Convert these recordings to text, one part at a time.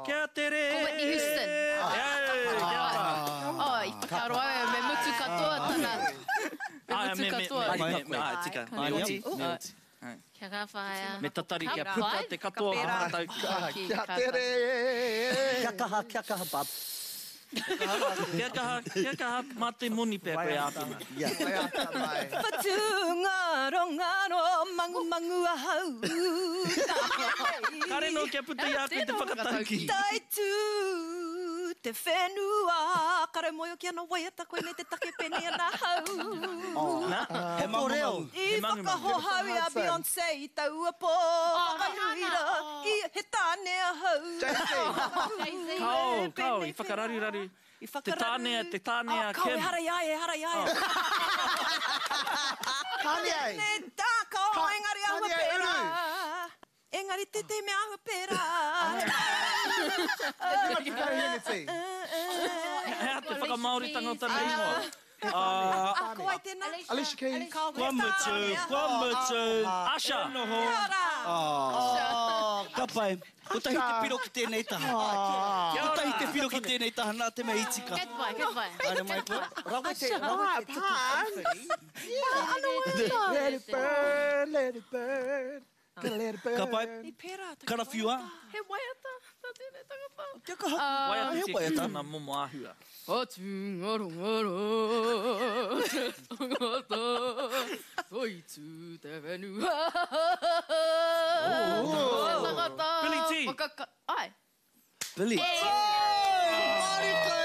Kia tere! Ko Whitney Houston. Kia ora. Oh, i whakaaro au me mutu katoa tana. Me mutu katoa. Me, me, me, ai, tika. Me oti, me oti. Kia ka whaia. Me tatari kia puta te katoa o ngā tauki. Kia tere! Kia kaha, kia kaha, bub. Kia kaha, kia kaha, mā te moni pea koe āwhina. Waiata mai. Whatungarongaro, mangumangu ahau. Kare nō kia puta i a koe te whakatauki. Taitū te whenua, kare moe ki ana waiata koinei te take pēnei ana ahau. He Ko reo. I whakahohau i a Beyonce i taua pō, whakanui rā, i he tāne ahau. Jay-Z. Kao, kao, i whakararuraru. I Te tāne, te tāne a Kim. Kao, ehara i a ia, ehara i a ia. Kanye. Te tā, kao, engari āhua Kanye pērā. uru. Engari tētehi mea āhua pērā. Tima Hennessy. He aha te whakamāoritanga o tana ingoa? Ah, ko wai tēnā? Alicia Keys. Kua mutu, kua mutu. Asha. E noho. Kia ora. Oh, ka pai. Kotahi te piro ki tēnei taha. Kotahi te piro ki tēnei taha, nā te mea i tika. Good boy, good boy. Haere mai koe. Rawe te, rawe te tuku pōwhiri. Let it burn, let it burn. Let it burn. Ka pai. I pērā taku Karawhiua. He waiata tā tēnei tangata. Kia kaha. Waiata He tia ki waiata. tana momo āhua. Whatungarongaro te tangata, toitū te whenua. Te tangata. Billy T. Whakaka... Ai. Billy. Marika e!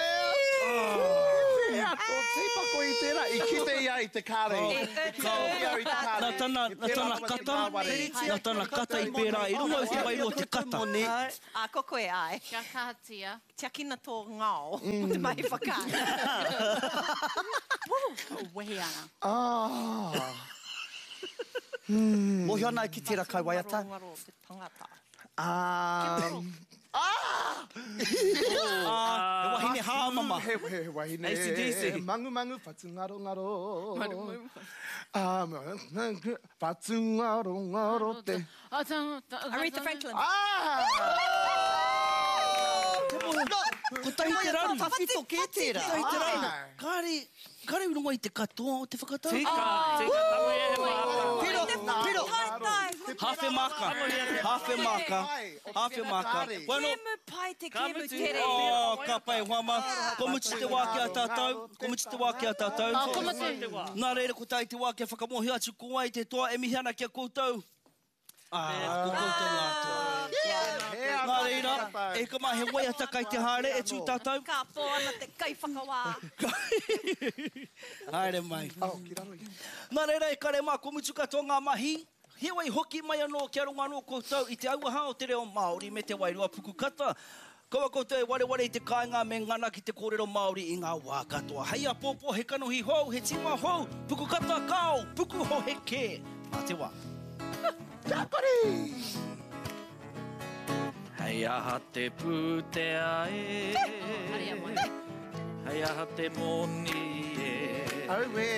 Pēhea tō tīpako i tērā? I kite ia i te kāri. I kite ia i te kāri. Nā tana, nā tana kata, nā tana kata i pērā i runga i te wairua o te kata. Ā, ko koe, āe. Kia kahatia. Tiakina tō ngao o te mahi whakaari. Wehi ana. Ah. Mōhio ana au ki tērā kaiwaiata. Ngarongaro te tangata. Um, ah! Ah, he wahine hāmama. He, he, he wahine. AC/DC. Mangumangu, whatungarongaro. Um, whatungarongaro te. Aretha Franklin. Ah! Kotahi te raru. Tawhito kē tērā. Kotahi te raru. Kāre, kāre i rongo i te katoa o te whakatau. Tika, tika, tangohia he māka. Piro, piro. Hāwhe māka, hāwhe māka, hāwhe māka. Bueno, Kēmu pai te Ka kēmu mutu. tere. oh, ka pai, hoa mā. Kua mutu te wā ki a tātou, kua mutu te wā ki a tātou. Oh, kua mutu. Nā reira, ko tāi te wā kia whakamōhio atu ko wai te toa e mihi ana ki a koutou. Ā, ko koutou ngā toa. Nā reira, e hika mā, he waiata kai te haere e tū tātou. Ka pō ana te kaiwhakawā. Haere mai. Nā reira, e kare mā, kua mutu katoa ngā mahi. Heoi, hoki mai anō kia rongo anō koutou i te auaha o te reo Māori me te wairua pukukata. Kaua koutou e wareware i te kāinga me ngana ki te kōrero Māori i ngā wā katoa. Hei āpōpō he kanohi hou, he tīma hou, pukukata kao, pukuhohe kē. Mā te wā. Kia kore! Hei aha te pūtea e. Hei aha te moni e. Auē!